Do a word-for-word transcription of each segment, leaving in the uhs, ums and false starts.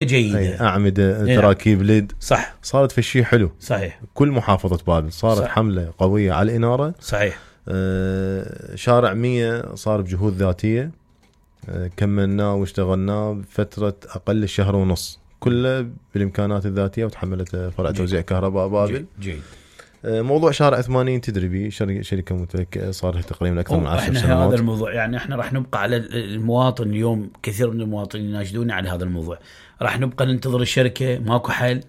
جيدة، أعمدة، تراكيب ليد، صح، صارت في شيء حلو. صحيح. كل محافظة بابل صارت صح. حملة قوية على الإنارة. صحيح. آه شارع مية صار بجهود ذاتية، آه كملناه واشتغلناه بفترة أقل شهر ونص، كله بالإمكانات الذاتية، وتحملت فرع توزيع كهرباء بابل. جيد. آه موضوع شارع ثمانين تدري بيه، شركة متوكلة صار له تقريبا أكثر من عشر سنوات. هذا الموضوع يعني احنا راح نبقى على المواطن اليوم، كثير من المواطنين يناشدوني على هذا الموضوع، راح نبقى ننتظر الشركة، ماكو حل.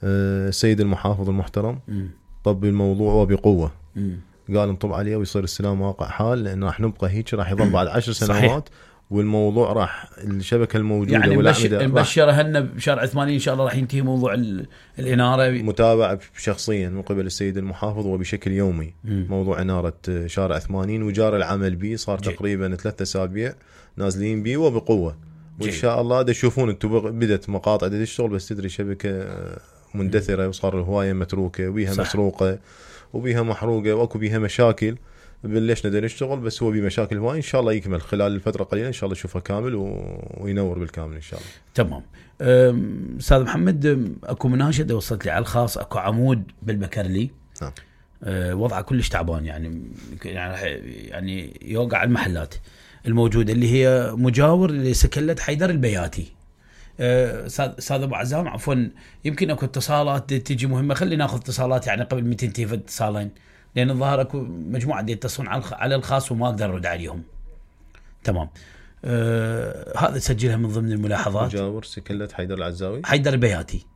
آه السيد المحافظ المحترم م. طب الموضوع وبقوة، م. قال انطب عليه ويصير السلام واقع حال، لأنه راح نبقى هيك، راح يظل بعد عشر سنوات. صحيح. والموضوع راح الشبكة الموجودة يعني والأعمدة نبشر هنا بشارع ثمانين إن شاء الله راح ينتهي موضوع الإنارة. متابعة شخصيا من قبل السيد المحافظ وبشكل يومي. م. موضوع إنارة شارع ثمانين وجار العمل به صار جي. تقريبا ثلاثة أسابيع نازلين به وبقوة، وإن جي. شاء الله دا تشوفون انتم بدت مقاطع دا تشتغل، بس تدري شبكة مندثرة وصار الهواية متروكة وبيها مسروقة وبيها محروقة واكو بيها مشاكل. بلشنا دا نشتغل، بس هو بمشاكل هواي، ان شاء الله يكمل خلال الفتره قليله، ان شاء الله نشوفه كامل و... وينور بالكامل ان شاء الله. تمام. استاذ محمد، اكو مناشده وصلت لي على الخاص، اكو عمود بالبكرلي. نعم. أه وضعه كلش تعبان، يعني يعني يوقع المحلات الموجوده اللي هي مجاور لسكلة حيدر البياتي. استاذ ابو عزام، عفوا يمكن اكو اتصالات تجي مهمه، خلينا ناخذ اتصالات يعني قبل ما تنتهي في اتصالين، لأن الظاهر أكو مجموعة دي يتصلون على الخاص وما أقدر أرد عليهم. تمام. آه هذا سجلها من ضمن الملاحظات. مجاور سكلة حيدر العزاوي، حيدر البياتي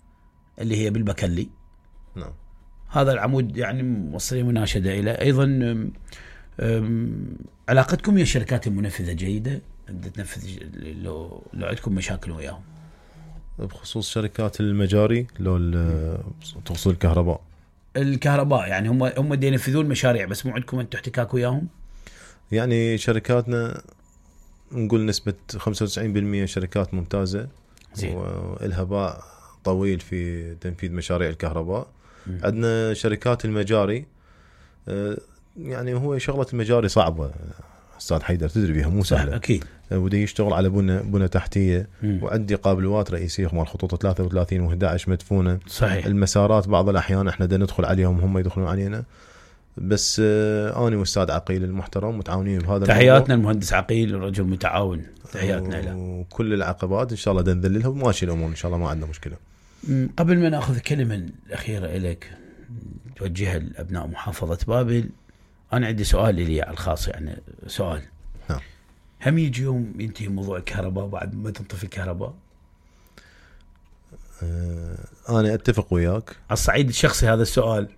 اللي هي بالبكلي. نعم. هذا العمود يعني موصلين مناشدة إلى أيضا. آم آم علاقتكم ويا الشركات المنفذة جيدة؟ تنفذ لو لو عندكم مشاكل وياهم بخصوص شركات المجاري لو توصيل الكهرباء؟ الكهرباء يعني هم هم دي ينفذون مشاريع، بس مو عندكم انتم احتكاك وياهم؟ يعني شركاتنا نقول نسبة خمسة وتسعين بالمئة شركات ممتازة، والها باع طويل في تنفيذ مشاريع الكهرباء. م. عندنا شركات المجاري، يعني هو شغلة المجاري صعبة أستاذ حيدر، تدري بيها مو سهلة أكيد، ودي يشتغل على بنى بنى تحتية. م. وعندي قابلوات رئيسية مال خطوط ثلاثة وثلاثين وإحدى عشر مدفونة. صحيح. المسارات بعض الأحيان إحنا دا ندخل عليهم هم يدخلون علينا، بس آه أنا والأستاذ عقيل المحترم متعاونين بهذا. تحياتنا المهندس عقيل، رجل متعاون، تحياتنا له. وكل العقبات إن شاء الله دا نذللها وماشي الأمور إن شاء الله، ما عندنا مشكلة. قبل ما نأخذ كلمة الأخيرة إليك توجهها لأبناء محافظة بابل، أنا عندي سؤال لي على الخاص، يعني سؤال. نعم. هم يجي يوم ينتهي موضوع الكهرباء بعد ما تنطفي الكهرباء؟ أه أنا أتفق وياك على الصعيد الشخصي هذا السؤال.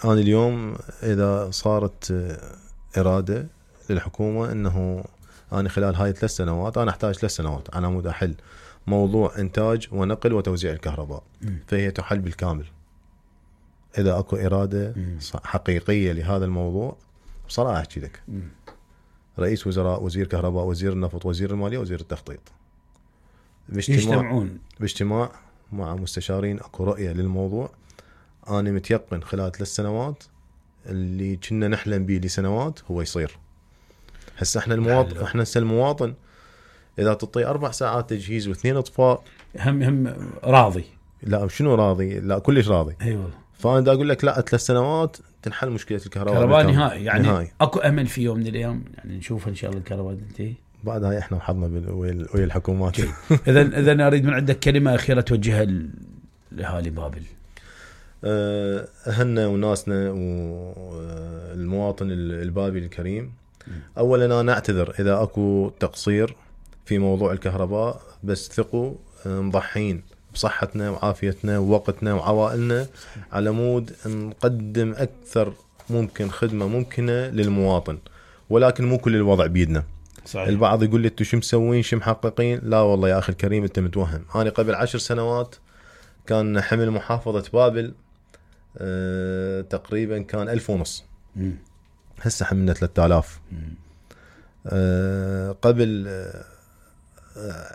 أنا اليوم إذا صارت إرادة للحكومة أنه أنا خلال هاي ثلاث سنوات أنا أحتاج ثلاث سنوات على مود أحل موضوع إنتاج ونقل وتوزيع الكهرباء، م. فهي تحل بالكامل إذا أكو إرادة م. حقيقية لهذا الموضوع. بصراحة أحكي لك، م. رئيس وزراء، وزير كهرباء، وزير النفط، وزير المالية، وزير التخطيط يجتمعون باجتماع مع مستشارين، أكو رؤية للموضوع. أنا متيقن خلال ثلاث سنوات اللي كنا نحلم به لسنوات هو يصير. هسه احنا المواطن، احنا هسه المواطن إذا تعطي أربع ساعات تجهيز واثنين إطفاء هم هم راضي؟ لا شنو راضي؟ لا كلش راضي. أيوة. فأنا دا أقول لك لا، ثلاث سنوات تنحل مشكلة الكهرباء. كهرباء نهائي يعني نهائي. أكو أمل في يوم من الأيام يعني نشوف إن شاء الله الكهرباء تنتهي. بعد هاي احنا وحظنا ويا الحكومات. إذا إذا أريد من عندك كلمة أخيرة توجهها لأهالي بابل. أهلنا وناسنا والمواطن البابلي الكريم، أولا أنا أعتذر إذا أكو تقصير في موضوع الكهرباء، بس ثقوا مضحين بصحتنا وعافيتنا ووقتنا وعوائلنا على مود نقدم أكثر ممكن خدمة ممكنة للمواطن، ولكن مو كل الوضع بيدنا. صحيح. البعض يقول لي انتوا شو مسوين شو محققين؟ لا والله يا أخي الكريم أنت متوهم. أنا قبل عشر سنوات كان حمل محافظة بابل أه تقريبا كان ألف ونص، هسه حملنا ثلاثة آلاف. أه قبل أه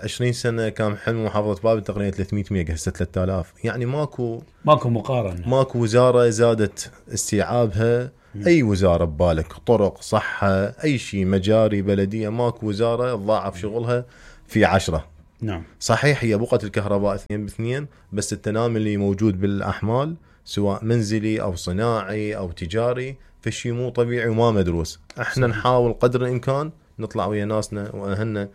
عشرين سنة كان حمل محافظة بابل تقريبا ثلاثمية ميجا، هسه ثلاثة آلاف. يعني ماكو ماكو مقارنة، ماكو وزارة زادت استيعابها. أي وزارة ببالك، طرق، صحة، أي شيء، مجاري، بلدية، ماكو وزارة تضاعف شغلها في عشرة. نعم. صحيح هي بقعة الكهرباء اثنين باثنين، بس التنامي اللي موجود بالاحمال سواء منزلي او صناعي او تجاري فشي مو طبيعي وما مدروس. احنا صحيح. نحاول قدر الامكان نطلع ويا ناسنا واهلنا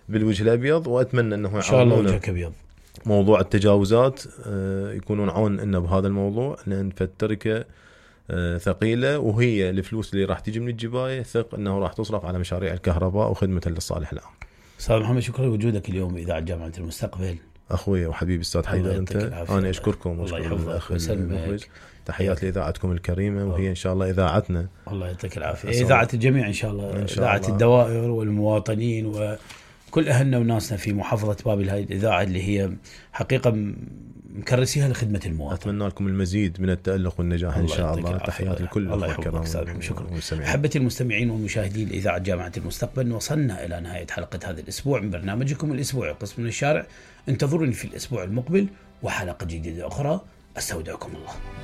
بالوجه الابيض، واتمنى انه ان شاء الله وجهك ابيض. موضوع التجاوزات يكونون عون لنا بهذا الموضوع، لان فالتركه ثقيله، وهي الفلوس اللي راح تجي من الجبايه ثق انه راح تصرف على مشاريع الكهرباء وخدمه للصالح العام. استاذ محمد شكرا لوجودك اليوم باذاعه جامعه المستقبل. اخوي وحبيبي استاذ حيدر، انت انا اشكركم الله يحفظك ويسلمك. تحيات لاذاعتكم الكريمه، وهي ان شاء الله اذاعتنا. الله يعطيك العافيه. اذاعه الجميع ان شاء الله، اذاعه الدوائر والمواطنين وكل اهلنا وناسنا في محافظه بابل. هذه الاذاعه اللي هي حقيقه مكرسيها لخدمه المواطن. اتمنى لكم المزيد من التالق والنجاح ان شاء الله. تحيات لكل الله الكرام. شكرا. احبتي المستمعين والمشاهدين لاذاعه جامعه المستقبل، وصلنا الى نهايه حلقه هذا الاسبوع من برنامجكم الاسبوعي قسم من الشارع. انتظروني في الاسبوع المقبل وحلقه جديده اخرى. استودعكم الله.